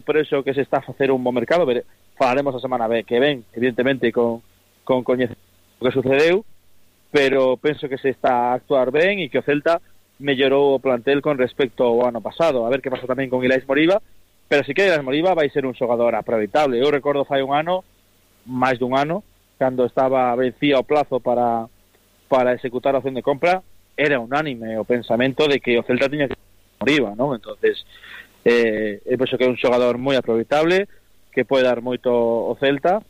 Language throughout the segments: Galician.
por eso que se está a facer un bo mercado. Falaremos a semana que ven, evidentemente, con coñecer o que sucedeu, pero penso que se está a actuar ben e que o Celta mellorou o plantel con respecto ao ano pasado. A ver que pasa tamén con Ilais Moriba, pero si que Ilais Moriba vai ser un xogador aproveitable. Eu recordo fai un ano, máis dun ano, cando estaba vencía o plazo para executar a opción de compra, era unánime o pensamento de que o Celta tiña que Moriba, non? Entonces eu penso que é un xogador moi aproveitable, que pode dar moito o Celta,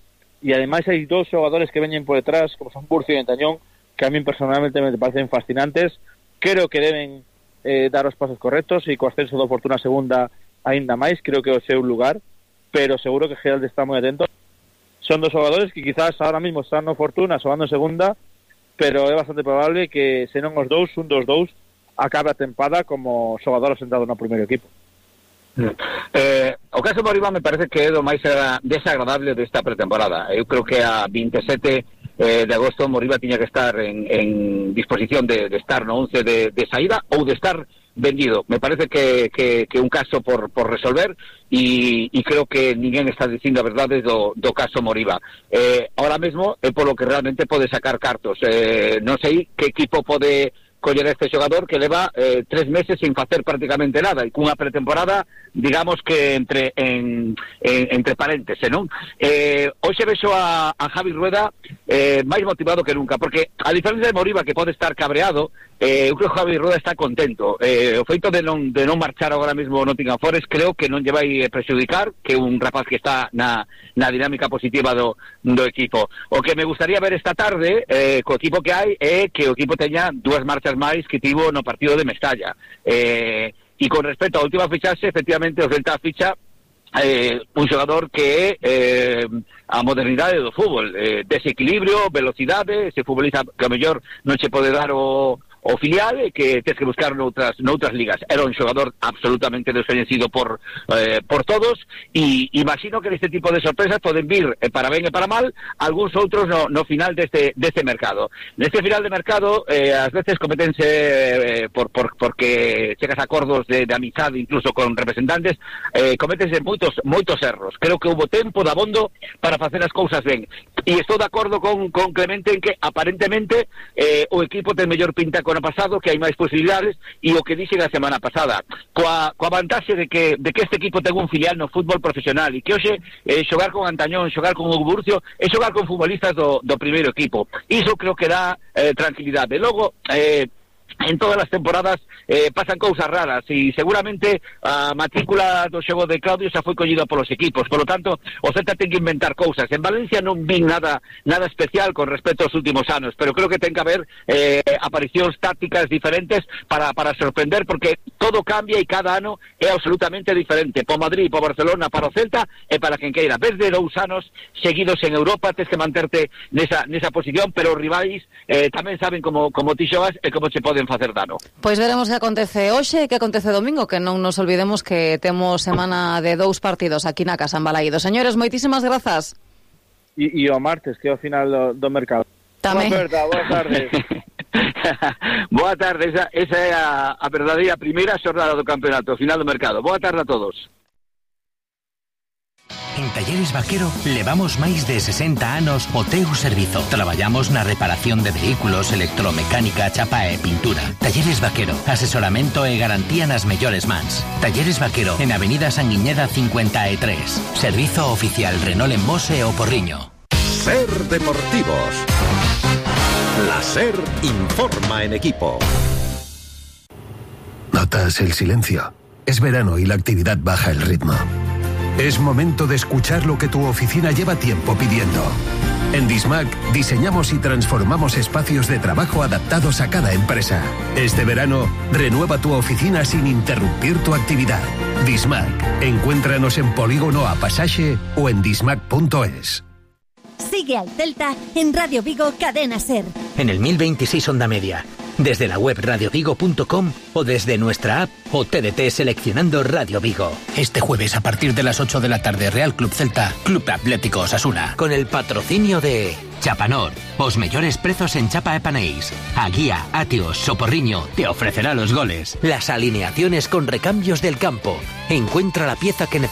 e ademais hai dous xogadores que veñen por detrás, como son Burcio e Antañón, que a mí personalmente me parecen fascinantes. Creo que deben dar os pasos correctos, e co ascenso do Fortuna segunda aínda máis, creo que é o seu lugar, pero seguro que Geraldo está moi atento. Son dos xogadores que quizás ahora mismo están no Fortuna xogando en segunda, pero é bastante probable que se non os dous, un dos dous acabe a tempada como xogador asentado no primeiro equipo. O caso Moriba me parece que é do máis desagradable desta pretemporada. Eu creo que a 27 de agosto Moriba tiña que estar en disposición de estar no 11 de saída ou de estar vendido. Me parece que un caso por resolver, e creo que ninguén está dicindo a verdade do caso Moriba. Ahora mesmo é polo que realmente pode sacar cartos. Non sei que equipo pode coller este xogador que leva 3 meses sin facer prácticamente nada, e cunha pretemporada, digamos que entre parénteses, non? Hoxe vexo a Javi Rueda máis motivado que nunca, porque a diferencia de Moriba, que pode estar cabreado, eu creo que Javi Rueda está contento. O feito de non marchar agora mesmo o Nottingham Forest creo que non lle vai prexudicar, que un rapaz que está na dinámica positiva do equipo. O que me gustaría ver esta tarde co equipo que hai é que o equipo teña 2 marchas máis que tivo no partido de Mestalla. E con respecto á última fichaxe, efectivamente o Celta ficha un xogador que é a modernidade do fútbol, desequilibrio, velocidade, ese futbolista que a mellor non se pode dar o filial, que tens que buscar noutras ligas. Era un xogador absolutamente descoñecido por todos, e imagino que neste tipo de sorpresas poden vir, para ben e para mal, algúns outros no final deste mercado. Neste final de mercado, ás veces cométense, porque chegas a acordos de amizade incluso con representantes, cométense moitos erros. Creo que houve tempo de abondo para facer as cousas ben, e estou de acordo con Clemente en que aparentemente o equipo ten mellor pinta con ano pasado, que hai máis posibilidades, e o que dixen a semana pasada, coa vantaxe de que este equipo ten un filial no fútbol profesional, e que hoxe xogar con Antañón, xogar con Hugo Burcio, é xogar con futbolistas do primeiro equipo. Iso creo que dá tranquilidade. Logo, en todas as temporadas pasan cousas raras, e seguramente a matrícula do xogo de Claudio xa foi collida polos equipos, polo tanto o Celta ten que inventar cousas. En Valencia non vi nada especial con respecto aos últimos anos, pero creo que ten que haber aparicións tácticas diferentes para sorprender, porque todo cambia e cada ano é absolutamente diferente. Po Madrid, po Barcelona, para o Celta e para quen queira. Ves de 2 anos seguidos en Europa, tens que manterte nesa posición, pero os rivais tamén saben como ti xogas e como che poden facer dano. Pois veremos que acontece hoxe e que acontece domingo, que non nos olvidemos que temos semana de 2 partidos aquí na Casa en Balaído. Señores, moitísimas grazas. E o martes, que é o final do mercado. Tamén. Boa tarde. Boa tarde, esa é a verdadeira primeira xornada do campeonato, final do mercado. Boa tarde a todos. En Talleres Vaquero levamos máis de 60 anos o teu servizo. Traballamos na reparación de vehículos, electromecánica, chapa e pintura. Talleres Vaquero, asesoramento e garantía nas mellores mans. Talleres Vaquero, en Avenida Sanguiñeda 53. Servizo oficial Renault en Mos e O Porriño. Ser Deportivos. La SER informa en equipo. ¿Notas el silencio? Es verano y la actividad baja el ritmo. Es momento de escuchar lo que tu oficina lleva tiempo pidiendo. En Dismac diseñamos y transformamos espacios de trabajo adaptados a cada empresa. Este verano, renueva tu oficina sin interrumpir tu actividad. Dismac. Encuéntranos en Polígono A Pasaxe o en dismac.es. Sigue al Celta en Radio Vigo Cadena SER. En el 1026 Onda Media, desde la web radiovigo.com o desde nuestra app o TDT seleccionando Radio Vigo. Este jueves a partir de las 8 de la tarde, Real Club Celta, Club Atlético Osasuna. Con el patrocinio de Chapanor, os mellores prezos en chapa e panéis. A Guía, Atios, Soporriño te ofrecerá los goles. Las alineaciones con recambios del campo. Encuentra la pieza que necesitas